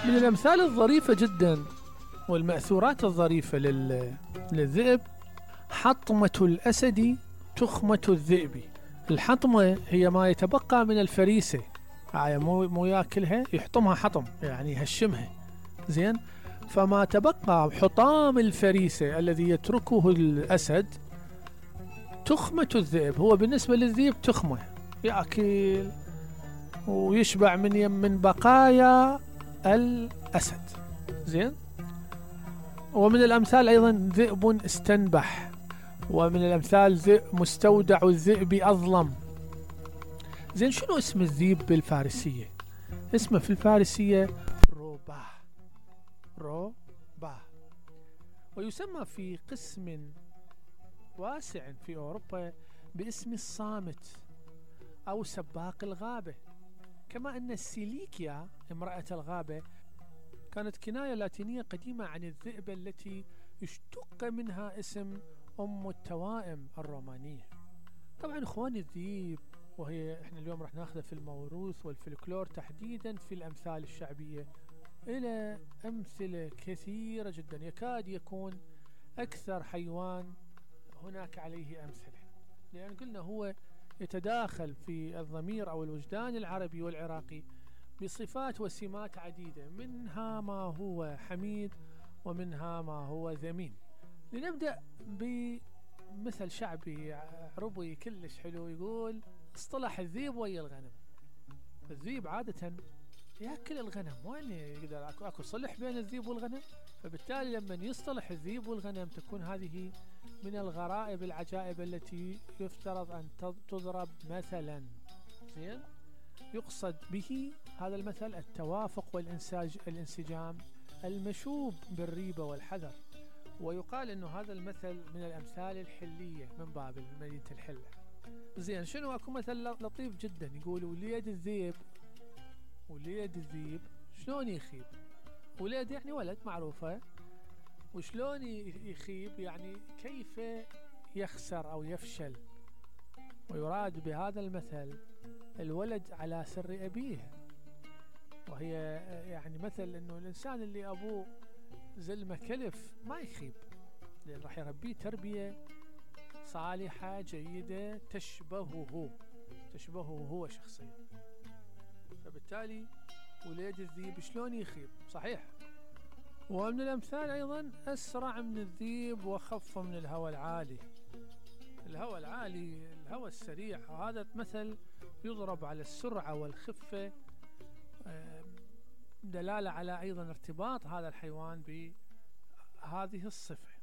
من الأمثال الظريفة جدا والمأثورات الظريفة للذئب: حطمة الأسد تخمة الذئب. الحطمة هي ما يتبقى من الفريسة، مو ياكلها، يحطمها حطم يعني يهشمها، زين. فما تبقى حطام الفريسة الذي يتركه الأسد تخمة الذئب. هو بالنسبة للذئب تخمة، يأكل ويشبع من بقايا الأسد، زين. ومن الأمثال أيضا ذئب استنبح، ومن الأمثال مستودع الذئب أظلم. زين، شنو اسم الذئب بالفارسية؟ اسمه في الفارسية روباه. روباه. ويسمى في قسم واسع في أوروبا باسم الصامت أو سباق الغابة. كما أن السيليكيا امرأة الغابة كانت كناية لاتينية قديمة عن الذئبة التي اشتق منها اسم أم التوائم الرومانية. طبعا اخواني، الذئب وهي احنا اليوم راح ناخذها في الموروث والفلكلور تحديدا في الأمثال الشعبية، إلى أمثلة كثيرة جدا، يكاد يكون أكثر حيوان هناك عليه أمثلة، لأن قلنا هو يتداخل في الضمير أو الوجدان العربي والعراقي بصفات وسمات عديدة، منها ما هو حميد ومنها ما هو ذميم. لنبدأ بمثل شعبي عربي كلش حلو، يقول: اصطلح الذيب ويا الغنم. الذيب عادة يأكل الغنم، وين يقدر اكو صلح بين الذيب والغنم؟ فبالتالي لما يصطلح الذيب والغنم تكون هذه من الغرائب العجائب التي يفترض أن تضرب مثلا، زين. يقصد به هذا المثل التوافق والانسجام المشوب بالريبة والحذر. ويقال انه هذا المثل من الامثال الحلية من باب مدينة الحلة. زين، شنو اكو مثل لطيف جدا يقول: وليد الذيب شلون يخيب؟ وليد يعني ولد، معروفة. وشلون يخيب يعني كيف يخسر أو يفشل. ويراد بهذا المثل الولد على سر أبيه، وهي يعني مثل أنه الإنسان اللي أبوه زلمة كلف ما يخيب، لأن راح يربيه تربية صالحة جيدة تشبهه هو شخصيا. فبالتالي وليد الذيب شلون يخيب؟ صحيح. ومن الأمثال أيضا: أسرع من الذيب وخف من الهوى العالي. الهوى العالي، الهوى السريع، هذا مثل يضرب على السرعة والخفة، دلالة على أيضا ارتباط هذا الحيوان بهذه الصفة.